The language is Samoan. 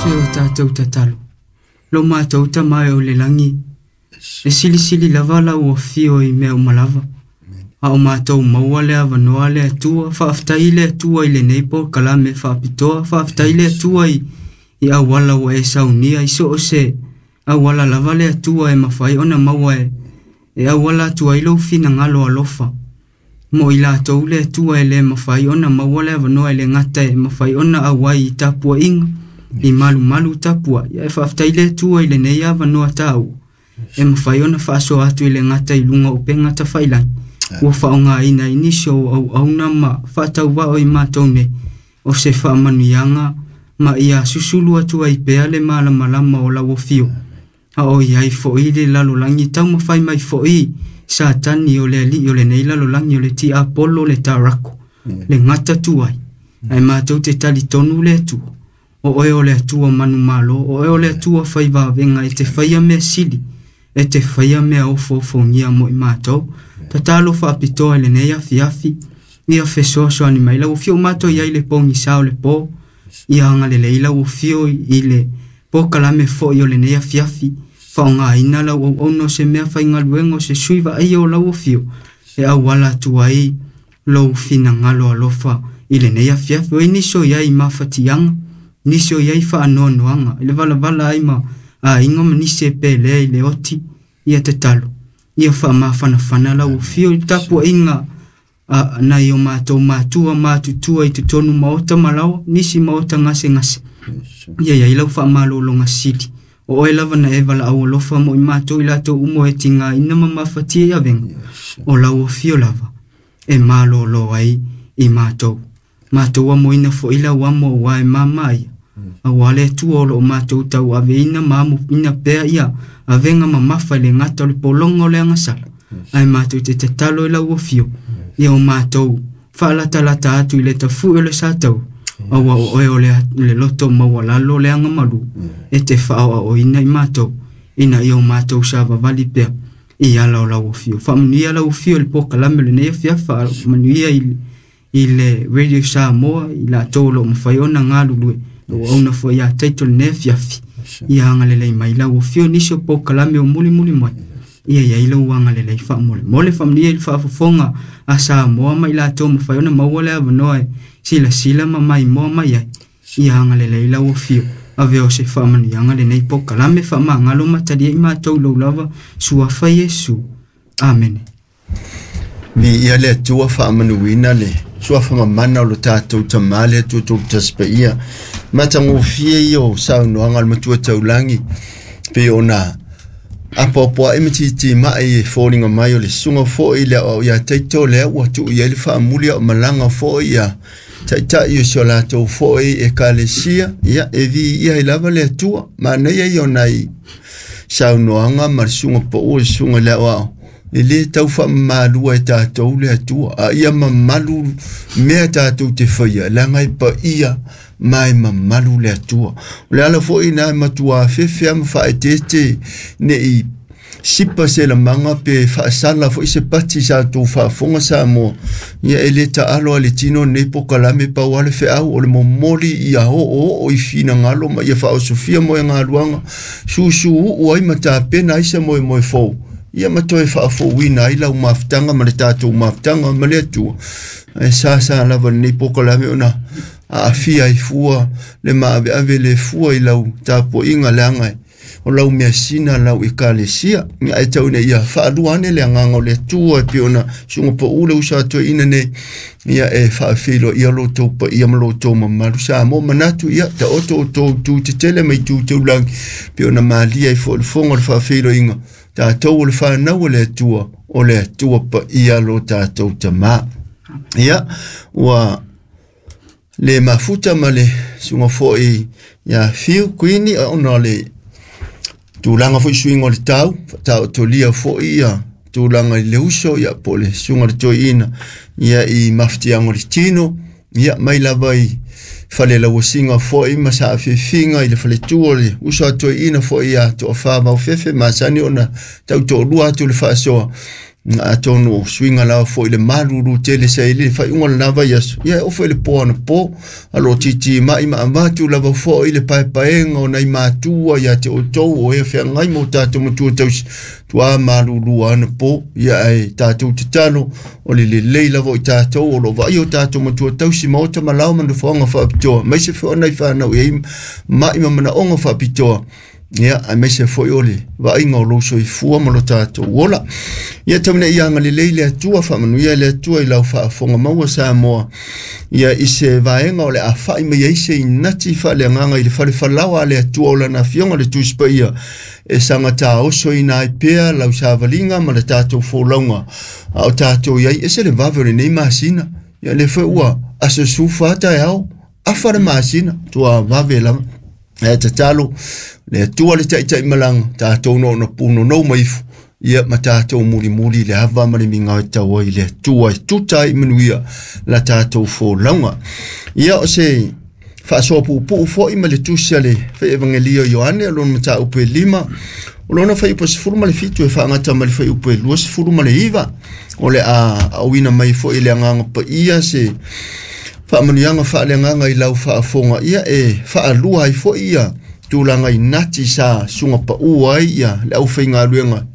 Se o tātou tatalo. Lo mātou tama e o le langi. E silisili lava lau afio i mea uma lava. A o mātou maua le avanoa le Atua, faafetai le Atua i lenei polokalame faapitoa, faafetai le Atua i auala ua e saunia i so o se auala lava le Atua e mafai ona maua e auala atu ai lou finagalo alofa. Mo i latou le Atua e le mafai ona maua le avanoa e le gata e mafai ona auai i tapuaiga, i malumalu tapuai. Ae faafetai le Atua i lenei avanoa taua e mafai ona faasoa atu i le gata i luga o upega tafailagi. Ua faaaogaina i nisi o auauna ma faatauvao i matou nei o se faamanuiaga ma ia susulu atu ai pea le malamalama o lau afio. A o i ai foi le lalolagi taumafai mai foi Satani o le alii o lenei lalolagi o le tiapolo le tarako le gata tuai. Ae matou te talitonu le Atua. O oe o le Atua manumalo, o oe o le Atua faivavega e te faia mea sili, e te faia mea ofoofogia mo i matou. Tatalo faapitoa i lenei afiafi, ia fesoasoani mai lau afio matou i ai le pogisa o le po, ia agalelei lau afio i le polokalame foi o lenei afiafi, faaaogaina lau auauna o se mea faigaluega o se sui vaaia o lau afio, e auala atu ai lou finagalo alofa i lenei afiafi. O ai nisi o i ai mafatiaga, nisi o i ai faanoanoaga, i le valavala ai ma aiga ma nisi e pelea i le oti, ia tatalo, ia faamafanafana lau afio i le tapuaiga nai o matou matua matutua i totonu maota malaoa, nisi maota gasegase. Ia iai lau faamalologa sili. O oe lava na e valaau alofa mo i matou i latou uma e tigaina ma mafatia i avega. O lau afio lava e malolo ai i matou. Matou amoina foi lau amo aua e mama ia. Aua le Atua o loo matou tauaveina ma amoina pea ia avega mamafa i le gata o le pologa o le agasala. Ae matou te tatalo i lau afio, ia o matou faalatalata atu i le tafue o le satau, aua o oe o le loto maualalo le agamalu, e te faaoaoina i matou, ina ia o matou savavali pea i ala o lau afio. Faamanuia lau afio i le polokalame o lenei afiafi, faamanuia i le Radio Samoa, i latou o loo mafai ona galulue, ua auauna foi ia Taito lenei afiafi. Ia agalelei mai lau afio nisi o polokalame o mulimuli mai. Ia iai lau agalelei faamolemole, faamanuia i le faafofoga a Samoa ma i latou mafai ona maua le avanoa e silasila ma maimoa mai ai. Ia agalelei lau afio, ave o se faamanuiaga lenei polokalame, faamagalo ma talia i matou lou lava suafa Iesu. Amene. Mi ia le Atua faamanuina le suafa mamana o lo tatou Tama le Atua tolu tasi paia. Matagofie ia o saunoaga a le Matua Taulagi pei ona apoapoai ma titimai e foliga mai o le susuga foi le aoao ia Taito lea ua tuu i ai le faamuli a o malaga foi ia taitai o si o latou foi ekalesia. Ia e viia ai lava le Atua. Manaia ia o nai saunoaga ma le susuga pau o le susuga le aoao. E le tau faamamalua e tatou le Atua, a ia mamalu mea tatou te faia, leaga e paia ma e mamalu le Atua. O le ala foi na e matua fefe ma faaeteete nei sipa se lamaga pe faasala foi se pati sa tou faafofoga Samoa. Ia e le taalo a le tino nei polokalame pau a le feau o le momoli ia oo oo i finagalo ma ia faaosofia moegaluaga susuu ai ma tapena ai se moemoe fou. Ia ma toe faafouina ai lau mafutaga ma le tatou mafutaga ma le Atua. Ae sa lava lenei polokalame ona aafia ai fua le maaveave le fua i lau tapuaiga leaga o lau measina lau ekalesia. Ae tau ina ia faalua ane le agaga o le Atua e pei ona susuga pau le uso a toeaina nei, ia e faafeiloaia lo outou paia ma lo outou mamalu Samoa. Manatu ia taoto outou itu tetele ma itu taulagi pei ona malia ai foi le fofoga o le faafeiloaiga. Tatou o le whanau o le Atua, o le Atua paia lo tatou Tama. Ia, ua le mafuta ma le susuga foi ia Fiu Kuini ona o le tulaga foi suiga o le tau, faataotolia foi ia tulaga i le uso, ia po o le susuga le toeaina, ia i mafatiaga o le tino, ia mai lava i fale lauasiga foi ma saafiafiga i le faletua o le uso a toeaina foi ia Toafa Vaofefe masani ona tautoalua atu le faasoa. Atonu o suiga lava fo'i le malulu tele sa i le faaiuga o lenā vaiaso, ia e oo foi i le po anapo a o lo o titimai ma avatu lava fo'i le paepaega o nai matua ia te outou o e feagai ma o tatou matua tausi tuā malulu anapo. Ia ae tatou tatalo o le lelei lava o i tatou o lo o vaaia o tatou matua tausi maota ma lao ma nofoaga faapitoa, aemaise foi o nai fanau e i ai ma'i ma manaoga faapitoa. Ia aemaise foi o le vaaiga o lou soifua ma lo tatou ola. Ia tau ina ia agalelei le Atua, faamanuia le Atua i lau faafofoga maua Samoa. Ia i se vaega o le a fa'i mai ai se inati faaleagaga i le falefalaoa a le Atua o lana Afioga le Tusi Paia e saga taosoina ai pea lau savaliga ma le tatou folauga a o tatou i ai. Ese le vave o lenei masina, ia lea foi ua aso 14 taeao afa le masina, tua vave lava. Ae tatalo le Atua le taitaimalaga tatou noona punonou mai ifo, ia ma tatou mulimuli le ava ma le migao e tau ai le Atua e tuta ai manuia la tatou folauga. Ia o se faasoa puupuu foi ma le tusi a le Evangelio Ioane o lona mataupu e 5, o lona fuaiupu e 17 e faagata ma le fuaiupu e 29, o le a auina mai foi le Agaga Paia se faamanuiaga faaleagaga i lau faafofoga, ia e faalua ai foi ia tulaga inati sa suga pau ai ia le aufaigaluega.